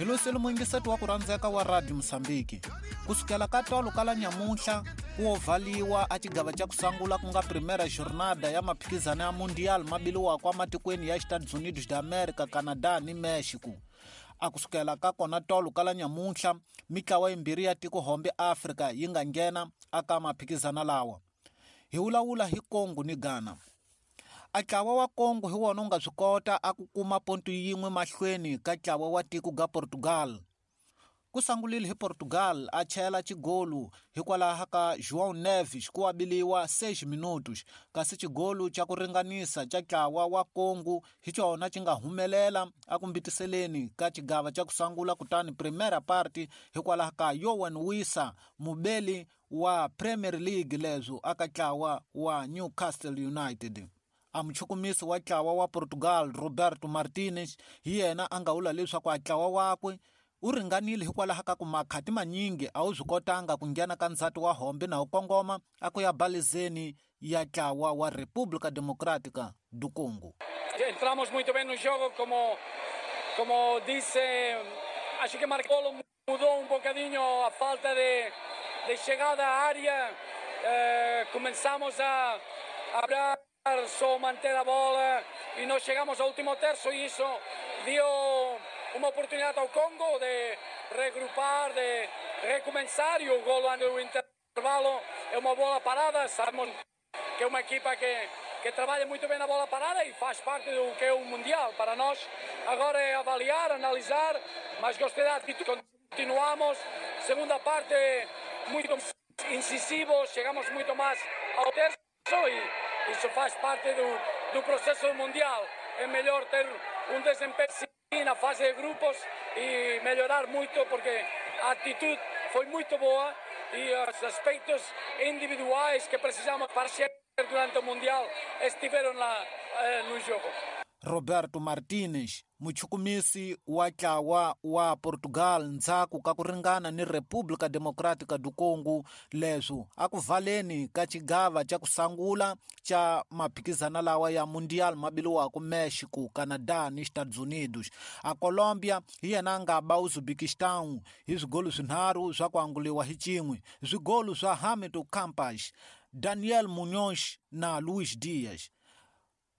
Hi loseli muyingiseti wa ku rhandzeka wa Radio Mosambiki. Ku sukela ka tolo ka la nyamuntlha ku wo vhaliwa a xigava xa ku sangula ku nga Primeira Jornada ya maphikizano ya Mundial ma biliwaka ematikweni ya Estados Unidos da America, Canada ni Mexico. A ku sukela ka kona tolo ka la nyamuntlha mitlawa yimbirhi ya tiko hombe Afrika yi nga nghena aka maphikizano lawa. Hi vulavula hi Congo ni Ghana. A ntlawa wa Congo hi wona wu nga swi kota a ku kuma ponto yin'we mahlweni ka ntlawa wa tiko ga Portugal. Ku sangulile hi Portugal a chela xigolu hikwalaho ka João Neves ku abiliwa 6 minutos, kasi xigolu xa ku ringanisa xa ntlawa wa Congo hi xona xi nga humelela a ku mbitiseleni ka xigava xa ku sangula kutani Primeira Parte hikwalaho ka Yoane Wissa mubeli wa Premier League leswo aka ntlawa wa Newcastle United. A muchukumisi wa ntlawa wa Portugal Roberto Martinez hi yena a nga vula leswaku a ntlawa wakwe u ringanile hikwalaho ka ku makhati manyingi a wu swi kotanga ku nghena ka ndzhati wa hombe na wu kongoma a ku ya balizeni ya ntlawa wa República Democrática do Congo. Entramos muito bem no jogo, como disse, acho que marcou mudou um bocadinho a falta de chegada à área. Começamos a hablar, só manter a bola e nós chegamos ao último terço e isso deu uma oportunidade ao Congo de regrupar, de recomeçar, e o golo antes do intervalo é uma bola parada. Sabemos que é uma equipa que trabalha muito bem na bola parada e faz parte do que é o Mundial. Para nós agora é avaliar, analisar, mas gostei da atitude. Continuamos, segunda parte muito incisivos, chegamos muito mais ao terço e isso faz parte do processo do Mundial. É melhor ter um desempenho assim na fase de grupos e melhorar muito, porque a atitude foi muito boa e os aspectos individuais que precisamos para ser durante o Mundial estiveram lá no jogo. Roberto Martinez, muchukumisi wa ntlawa wa Portugal ndzhaku ka ku ringana ni República Democrática do Congo leswo a ku valeni ka xigava xa ku sangula xa maphikizano lawa ya Mundial ma biliwaka Mexico, Canada ni Estados Unidos. A Colombia hi yena a nga ba Uzbekistan hi swigolu swinharhu swa ku anguliwa hi xin'we, swigolu swa Hamilton Campas, Daniel Munoz na Luis Diaz.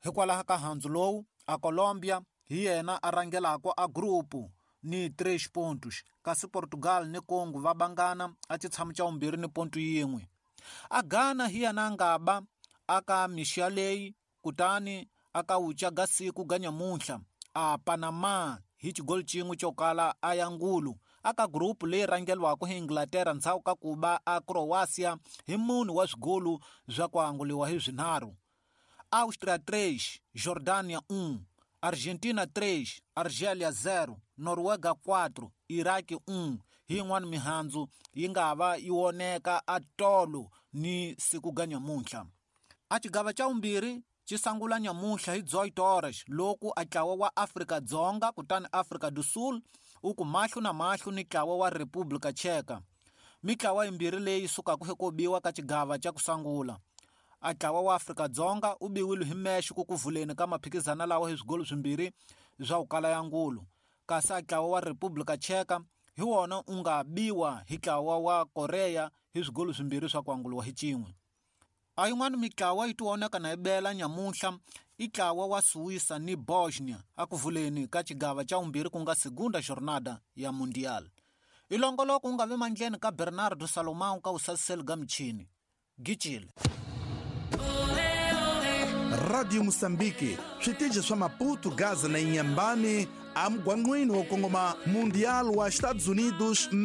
Hikwalaho ka handzu lowu, a Colombia hi yena a rhangelaka a grupu ni 3 pontos, kasi Portugal ni Congo va bangana a xitshamo xa vumbirhi ni ponto yin'we. A Ghana hi yena a nga ba aka mixia leyi kutani aka wucha ga siku ga nyamuntlha a Panama hi xigolu xin'we xo kala a ya ngulu aka grupu leyi rhangeriwaka hi Inglaterra ndzhaku ka ku ba a Croatia hi munhu wa swigolu swa ku anguliwa hi swinharhu. Áustria 3, Jordânia 1, Argentina 3, Argélia 0, Noruega 4, Iraq 1. Hi yin'wana mihandzu yi nga va yi voneka a tolo ni siku ga nyamuntlha. A xigava xa vumbirhi xi sangula nyamuntlha hi 18 horas loko a ntlawa wa Afrika Dzonga kutani Afrika do Sul u ku mahlo na mahlo ni ntlawa wa República Tcheca. Mitlawa yimbirhi leyi sukaka eko biwa ka xigava xa ku sangula. A ntlawa wa Afrika Dzonga u biwile hi Mexico ku vuleni ka maphikizano lawa hi swigolo swimbirhi swa ku kala ya ngulu, kasi a ntlawa wa República Tcheca hi wona u nga biwa hi ntlawa wa Korea hi swigolo swimbirhi swa ku anguliwa hi xin'we. A yin'wana mitlawa yi tivonaka na yi bela nyamuntlha i ntlawa wa Suíça ni Bosnia a ku vuleni ka xigava xa vumbirhi ku nga Segunda Jornada ya Mundial. I longoloko wu nga vi mandleni ka Bernardo Salomão ka vusasiseli ga michini. Gicile. Radio Moçambique, switichi swa Maputo, Gaza na Inhambane, amugwangqwini wo kongoma Mundial wa Estados Unidos.